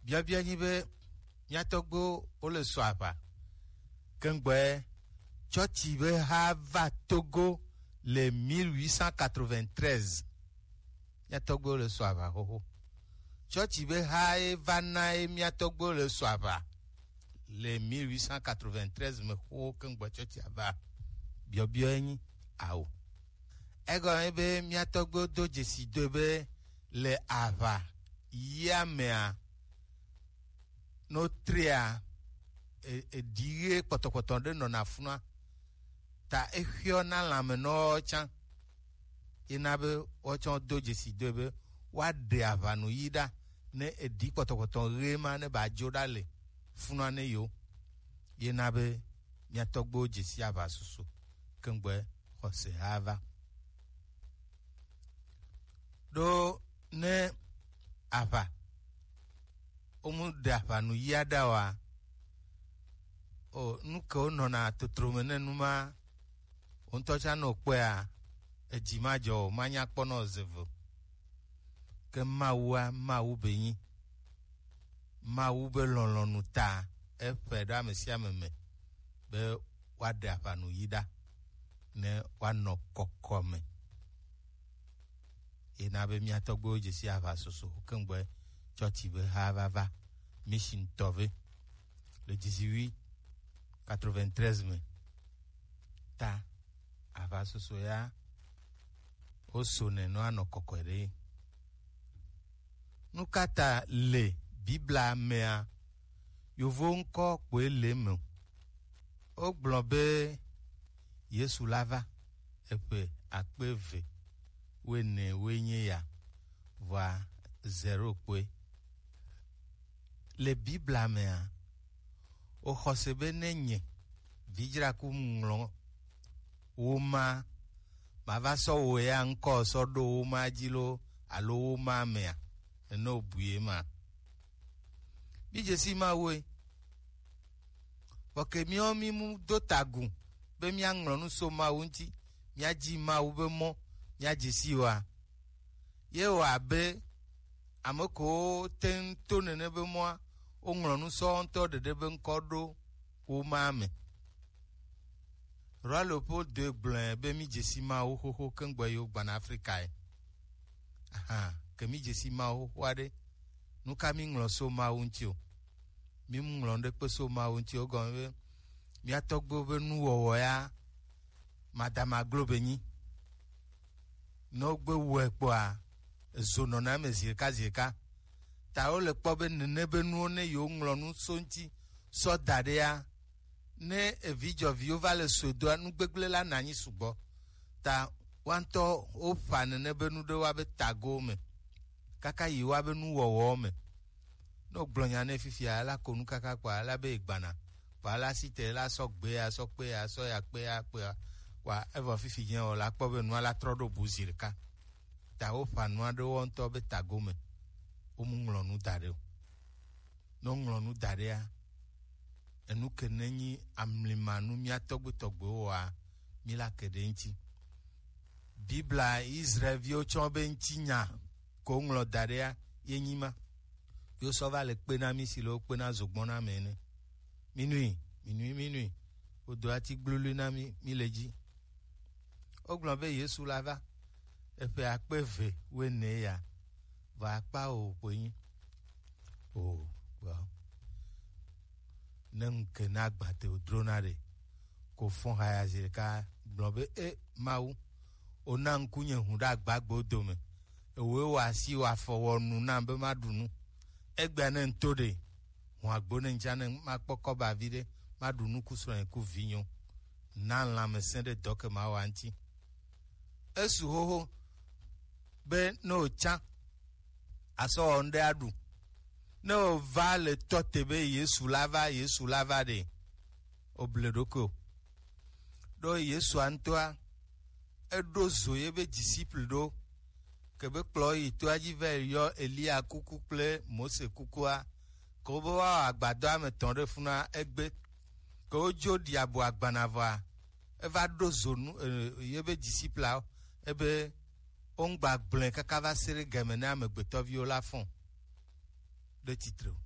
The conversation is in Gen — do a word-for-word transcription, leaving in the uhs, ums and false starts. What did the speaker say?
Biɔbiɔ nyi be mía tɔgbuiwo wole sɔ aʋa. Kengbe tsɔtsi be ha va Togo le mille huit cent quatre-vingt-treize. Mía tɔgbuiwo le sɔ aʋa xoxo. Tsɔtsi be ha ye va na ye mía tɔgbuiwo le sɔ aʋa le mille huit cent quatre-vingt-treize me xoxo kengbe tsɔtsi ava. Biɔbiɔ ye nyi ao. Egɔme be mía tɔgbuiwo do dzesi do be le aʋa yia mea, no tria e- eɖi ɣe kpɔtɔkpɔtɔ ɖe nɔna funua, ta exyɔ na lãmenɔwo tsã. Yena be woatsɔ do dzesi do be woaɖe aʋanu yi ɖa ne eɖi kpɔtɔkpɔtɔ ɣe ma ne ba dzo ɖa le funua ne yo. Yena be mía tɔgbuiwo dzesi aʋa susu kengbe xɔse ha va. Ɖo ne aʋa womu ɖe aʋanu yia ɖa wa, o nu ke wonɔna totro me ne nu ma, wo ŋutɔ tsã nɔ kpɔea, edzi ma dzɔ o, manya kpɔ nɔ ze ve o. Ke Mawua, Mawu be nyi. Mawu be lɔlɔ̃nu ta eƒe ɖe ame sia ame me be woaɖe aʋanu yi ɖa ne woanɔ kɔkɔme. Yena be mía tɔgbuiwo dzesi aʋa soso kengbe tsɔtsi be ha va va mission tɔve le dix-huit quatre-vingt-treize me. Ta aʋa soso ya wo so ne nɔ anɔ kɔkɔe ɖe. Nu ka ta le Biblia mea, yovo ŋkɔ kpoe le eme o? Wogblɔ be Yesu la va eƒe akpe eve wuiene woe nye ya, vɔa zero kpoe. Le Biblia mea, woxɔse be ne nye vidzraku ŋlɔ wo ma, mava sɔ wo ya ŋkɔ sɔ ɖo wo ma dzi lo alo wo ma mea, nene wobui ye ma. Mi dzesi Mawue. Vɔ ke miawo mi mu do tagu be miaŋlɔ nu so Mawu ŋuti, miadzi Mawu be mɔ, miadze si oa? Ye wɔ abe ame kewo te ŋu to nene be mɔa, woŋlɔ nu sɔ wo ŋutɔ ɖeɖe be ŋkɔ ɖo wo ma me. Roi Leopold deux gblɔe be mi dzesi Mawu xoxo kengbe yewo gbana Afrikae. Ahan, ke mi dzesi Mawu xoxoa ɖe, nu ka mi ŋlɔ so Mawu ŋuti o? Mi mu ŋlɔ ɖe kpe so Mawu ŋuti o, gɔme be mía tɔgbuiwo be nuwɔwɔ ya madama glo be nyi. Ne wogbe wɔe kpɔa, ezo nɔna eme zi ɖeka zi ɖeka. Ta wole kpɔ be nene be nuwo ne yewoŋlɔ nu so ŋuti sɔ da ɖea, ne evidzɔviwo va le sɔe doa, nu gbegblẽ la na anyi sugbɔ. Ta woantɔ woƒa nene be nu ɖe woabe tagowo me kaka yi woabe nuwɔwɔwo me. Ne wogblɔ nya nɛ fifia, ela ko nu kaka kpɔa, ela be egbana. Kpɔa, ela si te, ela sɔ gbea, sɔ kpea, sɔ ya kpea, kpea. Kpɔa, evɔ fifi nye o, la kpɔ be nua la trɔ ɖo bu zi ɖeka. Ta woƒa nua ɖe wo ŋutɔ be tago me. Womu ŋlɔ nu da ɖe o. Ne woŋlɔ nu da ɖea, enu ke ne nyi amlimanu mía tɔgbuitɔgbuiwo wɔa, mi la ke ɖe ŋuti. Biblia Israelviwo tsɔ be ŋutinya ko ŋlɔ da ɖea ye nyi ma. Yo sɔ va le kpe na mi si le wo kpe na zogbɔn na me ene. Minui, minui, minui. Wodo ati gblului na mi, mi le dzi. Wogblɔ be Yesu la va eƒe akpe eve wuiene ya, vɔ akpa o kpoe nyi. O, gbɔ. Ne ŋke na gbate wodrona ɖe, ko fɔn haya zi ɖeka gblɔ be, e Mawu, wona ŋkunye hũ ɖe agbagbewo dome. Ewoe wɔ asi, wɔ afɔ, wɔ nu nam be maɖu nu. Egbea ne ŋto ɖe, hũ agbo ne ŋtsa ne makpɔ kɔba viɖe, maɖu nu ku srɔ̃nye ku vinyo. Na lãmesẽ ɖe dɔ ke mawa ŋuti. Esu xoxo be ne wòtsã asɔ wɔ ŋɖe aɖu. Ne wòva le tɔ te be Yesu la va, Yesu la va ɖe, oble ɖokui o. Ɖo Yesua ŋutɔa, eɖo zo ye be disciple ɖo, ke be kplɔ yi toa dzi va yi yɔ Eliya kuku kple Mose kukua, ke wobe woawɔ agbadɔa me tɔn ɖe funua egbe, ke wodzo ɖi abo agbana vɔa, eva ɖo zo nu e, ye be discipleawo, ebe wongba gblɔe kaka va se ɖe game ne amegbetɔviwo la fɔn ɖe tsitre o.